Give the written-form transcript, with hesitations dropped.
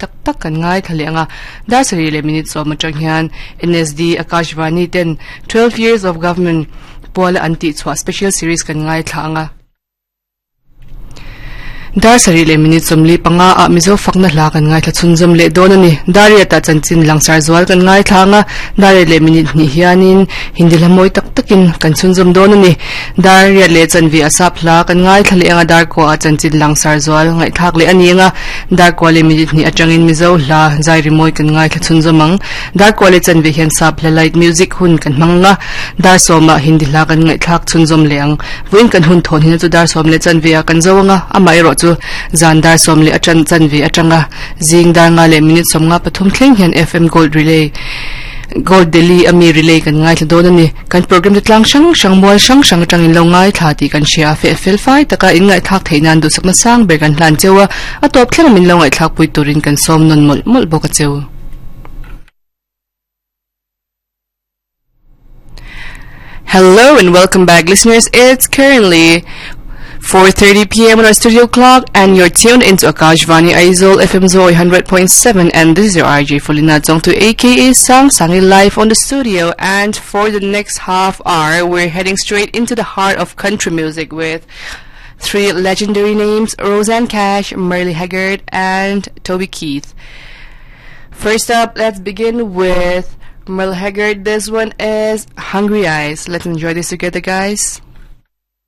tak tak kan ngaithla leh ang a. Dar sarih leh minute sawm atang hian NSD Akashvani ten 12 Years of Government puala an tihchhuah special series kan ngaithla ang a. Dar sarih leh minute 45 ah Mizo fakna hla kan ngaithla chhunzawm leh dawn a ni. Dar riatah chanchin langsar zual kan ngaithla ang a, dar riat leh minute hnih hianin Hindi hla mawi tak takin kan chhunzawm dawn a ni. Dar riat leh chanve a sap hla kan ngaithla leh ang a, dar kuaah chanchin langsar zual ngaihthlak leh a ni ang a, dar kua leh minute hnih atangin Mizo hla zai rimawi kan ngaithla chhunzawm ang. Dar kua leh chanve hian sap hla light music hun kan hmang ang a, dar sawmah Hindi hla kan ngaihthlak chhunzawm leh ang. Vawiin kan hun thawn hina chu dar sawm leh chanve ah kan zo anga, amaherawh chu zan dar sawm leh atan chanve atanga zing dar nga leh minute sawmnga pathum thleng hian FM Gold Relay Gold Delhi ami Relay kan ngaithla dawn a ni. Kan program te tlang hrang hrang mual hrang hrang atangin lo ngaithla tih kan hria a, feh fel fai taka in ngaihthlak theih nan duhsakna sang ber kan hlan cheu a, a tawp thleng min lo ngaihthlak pui turin kan sawm nawn mawlh mawlh bawk a cheu. Hello and welcome back listeners. It's currently 4.30 p.m. on our studio clock and you're tuned into Akashvani Aizawl FM Zoi 100.7 and this is your RJ Folina Jongtu aka Sang Sangi live on the studio and for the next half hour we're heading straight into the heart of country music with three legendary names Rosanne Cash, Merle Haggard and Toby Keith. First up, let's begin with Merle Haggard. This one is Hungry Eyes. Let's enjoy this together, guys.